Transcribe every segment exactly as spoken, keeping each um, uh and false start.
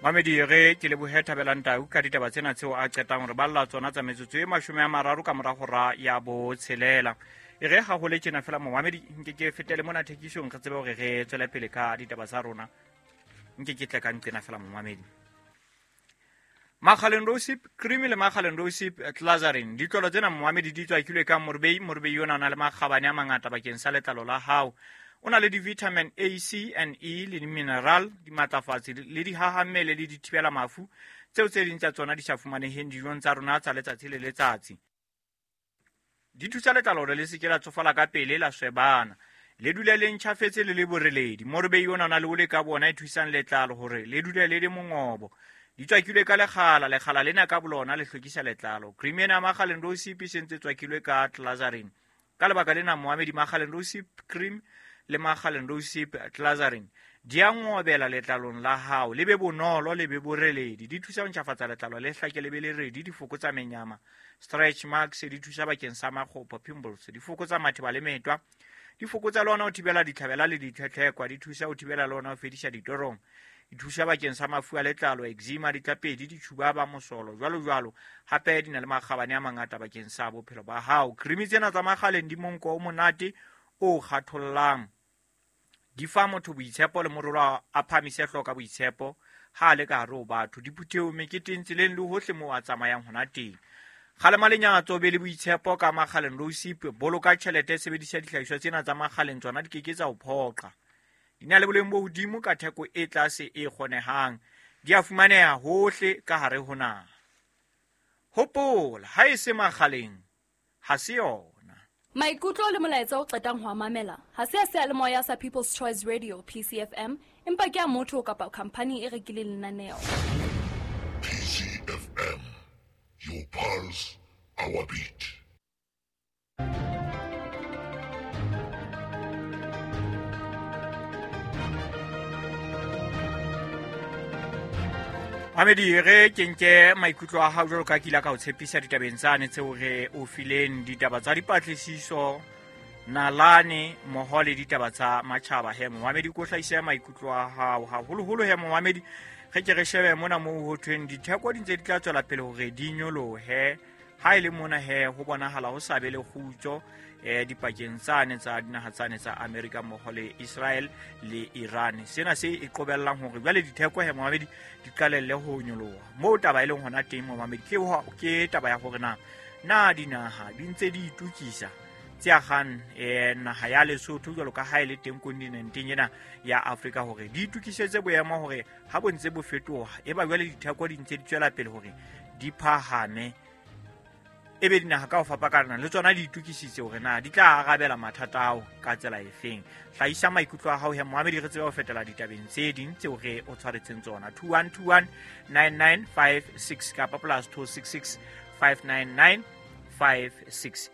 Mamedi re ke lebohe Thabelang Tau ka ditaba tsena tseo a qetang hore balla tsona tsa metsotso e mashome a mararo ka mora hora ya botshelela. E re ha ho le tjena fela momamedi nke ke fetele mona thekisong re tsebe hore re tswele pele ka ditaba tsa rona. Nke ke tle ka nqena fela momamedi. Makgaleng Rosip cream le Makgaleng Rosip Glazarin ditlolo tsena momamedi di tswakilwe ka morbei morbei yona na le makgabane a mangata bakeng sa letlalo la hao. O na le di-vitamin A, C and E le di-mineral, dimatlafatsi le dihahammele le dithibela mafu tseo tse ding tsa tsona di sa fumaneheng dijong tsa rona tsa letsatsi le letsatsi. Di thusa letlalo hore le se ke la tsofala ka pele la swebana, le dule le ntjhafetse le le boreledi. Morbei ona na le ole ka bona e thusang letlalo hore le dule le le mongobo. Di tswakilwe ka lekgala, lekgala lena ka bolona le hlwekisa letlalo. Cream ena ya Makgaleng Rosip e sentse tswakilwe ka Glazarin. Ka lebaka lena moamedi Makgaleng Rosip cream le Makgaleng Rosip Glazarin di a ngobela letlalong la hao, le be bonolo le be boreledi. Di thusa ho ntjhafatsa letlalo le hlake le be le redi, di fokotsa menyama, stretch marks, di thusa bakeng sa makgopo, pimples, di fokotsa matheba le metwa, di fokotsa le ona ho thibela ditlhabela le ditlhetlhekwa, di thusa ho thibela le ona ho fedisa ditorong, di thusa bakeng sa mafu a letlalo, eczema, ditlapedi, ditjhuba ba mosolo, jwalo jwalo. Hape di na le makgabane a mangata bakeng sa bophelo ba hao. Cream tsena tsa Makgaleng di monko o monate o kgathollang, di fa motho boitshepo le morolo a phamise hloka boitshepo ha le ka hare ho batho, diphuthehong, meketeng, tseleng le hohle moo a tsamayang hona teng. Kgalema lenyatso, be le boitshepo ka Makgaleng Rosip. Boloka tjhelete, sebedisa dihlahiswa tsena tsa Makgaleng, tsona di keke tsa o phoqa. Di na le boleng bo hodimo ka theko e tlase e kgonehang. Di a fumaneha hohle ka hare ho naha. Hopola, ha e se Makgaleng, ha se yona. Maikutlo le molaetsa o qetang ho a mamela ha se a seyalemoya sa People's Choice Radio P C F M, empa ke a motho kapa khampani e rekileng lenaneo. P C F M, your pulse, our beat. Mamedi re ke nke maikutlo a hao jwalo ka ke ile ka o tshepisa ditabeng tsane tseo re o fileng, ditaba tsa dipatlisiso, nalane mmoho le ditaba tsa matjhaba. He momamedi, ko hlahise maikutlo a hao haholoholo. He momamedi, re ke re shebe mona moo ho thweng ditheko di ntse di tla tswela pele hore di nyolohe. Ha e le mona he ho bonahala ho sa be le kgutso eh dipakeng tsane tsa dinaha tsane tsa Amerika mmoho le Israel le Iran. Sena se e qobellang hore jwale ditheko he momamedi di qalelle ho nyoloha. Moo taba e leng hona teng momamedi ke ke taba ya hore na na dinaha di ntse di itukisa tse agang eh naha ya Lesotho jwalo ka ha e le teng kontinenteng ena ya Afrika hore di itukisetse boemo hore ha bo ntse bo fetoha e ba jwale ditheko di ntse di tswela pele hore di phahame. Ebe dinaha ka ho fapakana le tsona di itukisitse hore na di tla arabela mathata ao ka tsela efeng. Hlahisa maikutlo a hao he moamedi, re tsebe ho fetela ditabeng tse ding tseo re o tshwaretseng tsona. Two one two one nine nine five six kapa plus two six six five nine nine five six.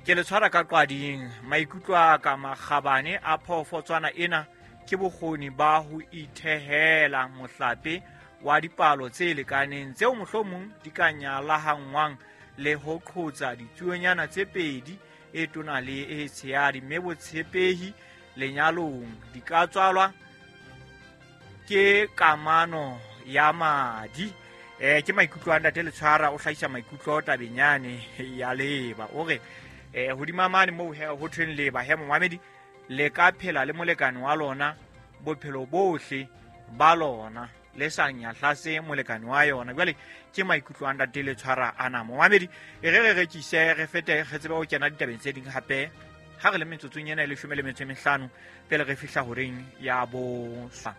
Ke le tshwara ka qwading. Maikutlo a ka makgabane a phoofotswana ena ke bokgoni ba ho ithehela mohlape wa dipalo tse lekaneng tseo mohlomong di ka nyalahangwang le ho qhotsa ditsuonyana tse pedi e tona le e tshehadi, mme botshepehi lenyalong di ka tswalwa ke kamano ya madi. Eh ke maikutlo a ntate Letshwara, o hlahisa maikutlo tabeng yane ya leba. O re eh hodima mane moo ho thweng leba he momamedi, le ka phela le molekane wa lona bophelo bohle ba lona le sa nyahlase molekane wa yona. Jwale ke maikutlo a ntate Letshwara ana momamedi. E re re rekise re fete re tsebe ho kena ditabeng tse ding hape ha re le metsotsong ena e leshome le metso e mehlano pele re fihla horeng ya bosa.